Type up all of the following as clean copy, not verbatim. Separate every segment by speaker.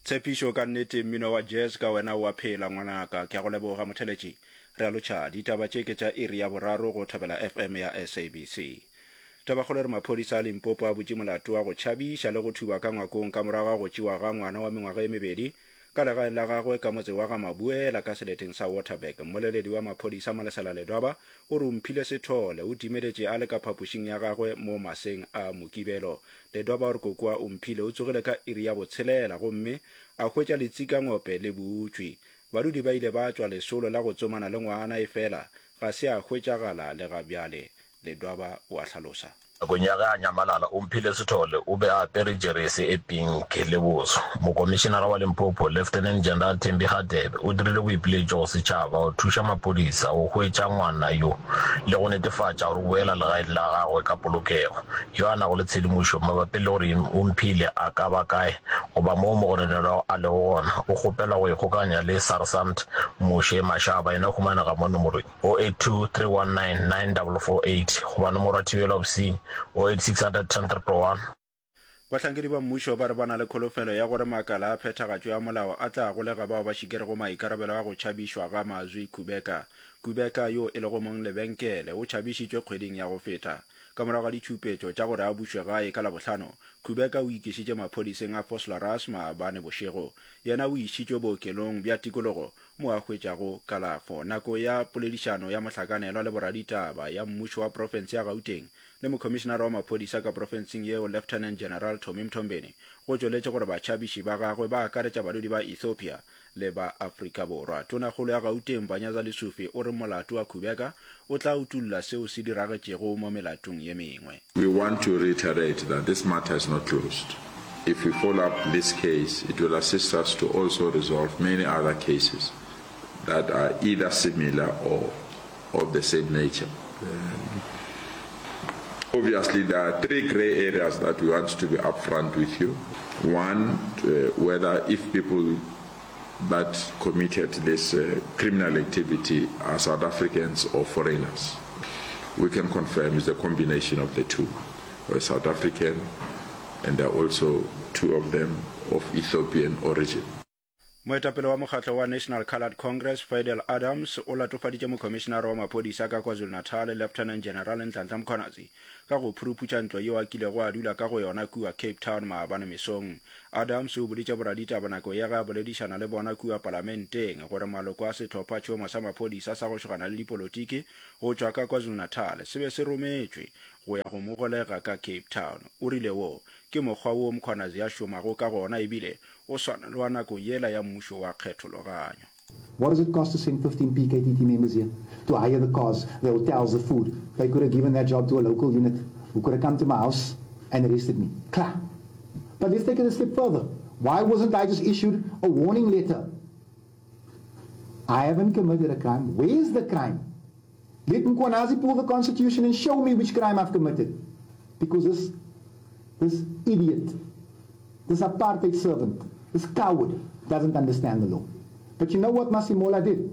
Speaker 1: Tshepišo, Ka nnete mmino wa jazz ka wena o a phela ngwanaka. Ke a go leboga motheletši. Re a lotšha. Ditaba tše ke tša iri ya boraro go Thobela FM ya SABC. Tabakgolo e re maphodisa a Limpopo a butše molato wa go tšhabiša le go thuba ka ngwakong ka morago ga go tšewa ga ngwana wa mengwaga e mebedi ka legaeng la gagwe ka motse wa ga Mabuela ka seleteng sa Waterberg. Mmoleledi wa maphodisa Malesela Ledwaba o re Omphile Sethole o timeletše a le ka phapošing ya gagwe mo maseng a Mokibelo. Ledwaba o re kokoa Omphile o tsogile ka iri ya botshelela gomme a hwetša letsikangope le butšwe. Badudi ba ile ba tšwa lesolo la go tsomana le ngwana efela ga se a hwetšagala le ga bjale, Ledwaba o a hlalosa.
Speaker 2: Nakong ya ge a nyamalala, Omphile Sithole o be a apere jeresi e pinki le boso. Mokomišenara wa Limpopo, Lieutenant General Thembi Hadebe, o dirile boipiletšo go setšhaba go thuša maphodisa go hwetša ngwana yo le go netefatša gore o boela legaeng la gagwe ka polokego. Yo a nago le tshedimošo mabapi le gore Omphile a ka ba kae goba moo mogononelwa a lego gona, o kgopelwa go ikgokanya le Sarsant Moshe Mashaba, yena o humanega mo nomorong. 082 319 9448 goba nomoro ya thibelo ya bosenyi 086 110 111.
Speaker 1: Bahlankedi ba mmušo ba re ba na le kholofelo ya gore makala a phethagatšo ya molao a tla golega bao ba šikerego maikarabelo a go tšhabišwa ga Mazwi Kubeka. Kubeka, yo e lego mong lebenkele, o tšhabišitšwe kgweding ya go feta. Ka morago ga ditšhupetšo tša gore a bušwe gae ka Labohlano, Kubeka o ikišitše maphodiseng a Vosloorus maabane bošego. Yena o išitšwe bookelong bja tikologo mo a hwetšago kalafo. Nako ya poledišano ya mohlakanelwa le boraditaba ya mmušo wa profense ya Gauteng le mokhomišenara wa maphodisa ka profenseng yeo Lieutenant General Tommy Mthombeni go tšweletše gore batšhabiši ba gagwe ba akaretša badudi ba Ethiopia le ba Afrika Borwa. Tonakgolo ya Gauteng Panyaza Lesufi o re molato wa Khubeka o tla utulla seo se diragetšego mo melatong ye mengwe.
Speaker 3: We want to reiterate that this matter is not closed. If we follow up this case, it will assist us to also resolve many other cases that are either similar or of the same nature. Um, obviously, there are three gray areas that we want to be upfront with you. One, uh, whether if people that committed this uh, criminal activity are South Africans or foreigners. We can confirm it's a combination of the two. A South African and there are also two of them of Ethiopian origin.
Speaker 1: Moetapele wa mokgatlo wa National Coloured Congress, Fidel Adams, o latofaditše mokhomišenare wa maphodisa ka KwaZulu-Natal, Lieutenant General Nhlanhla Mkhwanazi, ka go phuruphutša ntlo yeo a kilego a dula ka go yona kua Cape Town maabane mesong. Adams o boditše boraditaba nako ya ge a boledišana le bona kua palamenteng gore maloko a sehlophatšhomo sa maphodisa sa go šogana le dipolotiki go tšwa ka KwaZulu-Natal se be se rometšwe go ya go mo golega ka Cape Town. O rile wo ke mokgwa wo Mkhwanazi a šomago ka gona ebile o swana le wa nako yela ya mmušo wa kgethologanyo.
Speaker 4: What does it cost to send 15 PKTT members here to hire the cars, the hotels, the food? They could have given that job to a local unit who could have come to my house and arrested me. Klaar. But let's take it a step further. Why wasn't I just issued a warning letter? I haven't committed a crime. Where's the crime? Let Mkhwanazi pull the constitution and show me which crime I've committed. Because this, this idiot, this apartheid servant, this coward doesn't understand the law. But you know what Masemola did?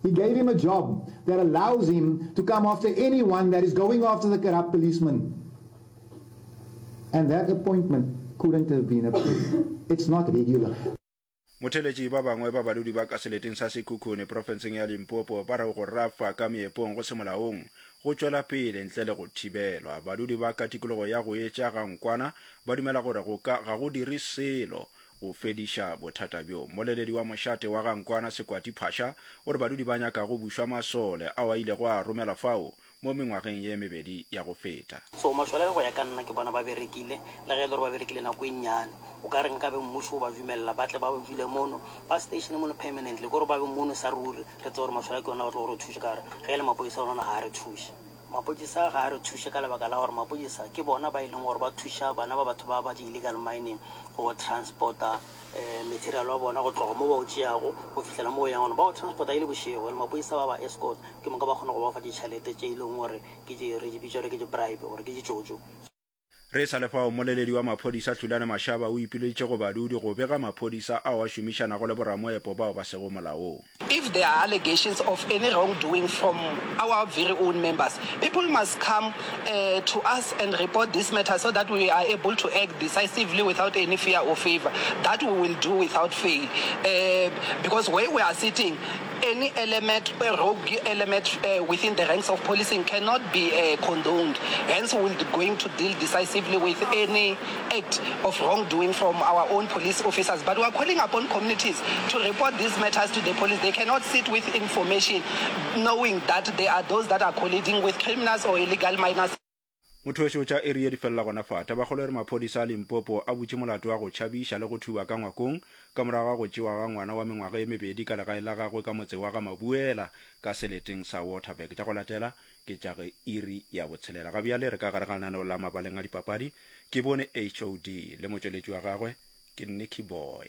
Speaker 4: He gave him a job that allows him to come after anyone that is going after the corrupt policeman. And that appointment couldn't have been approved. It's not regular.
Speaker 1: Motheeletši ba bangwe ba badudi ba ka seleteng sa Sekhukhune profenseng ya Limpopo ba re go rafa ka meepong go se molaong go tšwela pele ntle le go thibelwa. Badudi ba ka tikologo ya go etša ga Nkwana ba dumela gore go ka ga go dire selo go fediša bothata bjo. Mmoleledi wa mošate wa ga Nkwana Sekwati Phasha o re badudi ba nyaka go bušwa masole ao a ilego a romelwa fao mo mengwageng ye mebedi ya go feta.
Speaker 5: So mašole go ya ka nna ke bona ba berekile, le ge e le gore ba berekile nako e nnyane. O ka re nkabe mmušo o ba dumelela ba tle ba dule mono, ba statione mono permanently, kore ba be mono sa ruri, re tsebe gore mašole ke ona a tlo go re thuša ka gore ge e le mapodisa ona ga a re thuše. Mapodisa ga a re thuše ka lebaka la gore mapodisa ke bona ba e leng gore ba thuša bana ba batho ba ba di-illegal mining go transporta material wa bona go tloga mo ba o tšeago go fihlela mo o yang gona. Ba o transporta e le bošego and mapodisa ba ba escort ke moka ba kgona go ba fa ditšhelete tše e leng gore ke tše re di bitša gore ke di-bribe gore ke ditšotšo.
Speaker 1: Re sa le fao, mmoleledi wa maphodisa Hlulani Mashaba o ipileditše go badudi go bega maphodisa ao a šomišanago le boramoepo bao ba sego molaong.
Speaker 6: If there are allegations of any wrongdoing from our very own members, people must come to us and report this matter so that we are able to act decisively without any fear or favour. That we will do without fail. Because where we are sitting, Any element, rogue element within the ranks of policing cannot be condoned. Hence, we will be going to deal decisively with any act of wrongdoing from our own police officers. But we are calling upon communities to report these matters to the police. They cannot sit with information knowing that there are those that are colluding with criminals or illegal miners.
Speaker 1: Motho wešo tša iri ye di felela gona fa. Tabakgolo e re maphodisa a Limpopo a butše molato wa go tšhabiša le go thuba ka ngwakong ka morago ga go tšewa ga ngwana wa mengwaga ye mebedi ka legae la gagwe ka motse wa ga Mabuela ka seleteng sa Waterberg. Tša go latela ke tša ge iri ya botshelela. Ga bjale re ka gare ga lenaneo la mabaleng a dipapadi. Ke bone HOD le motšweletši wa gagwe ke Nicky Boy.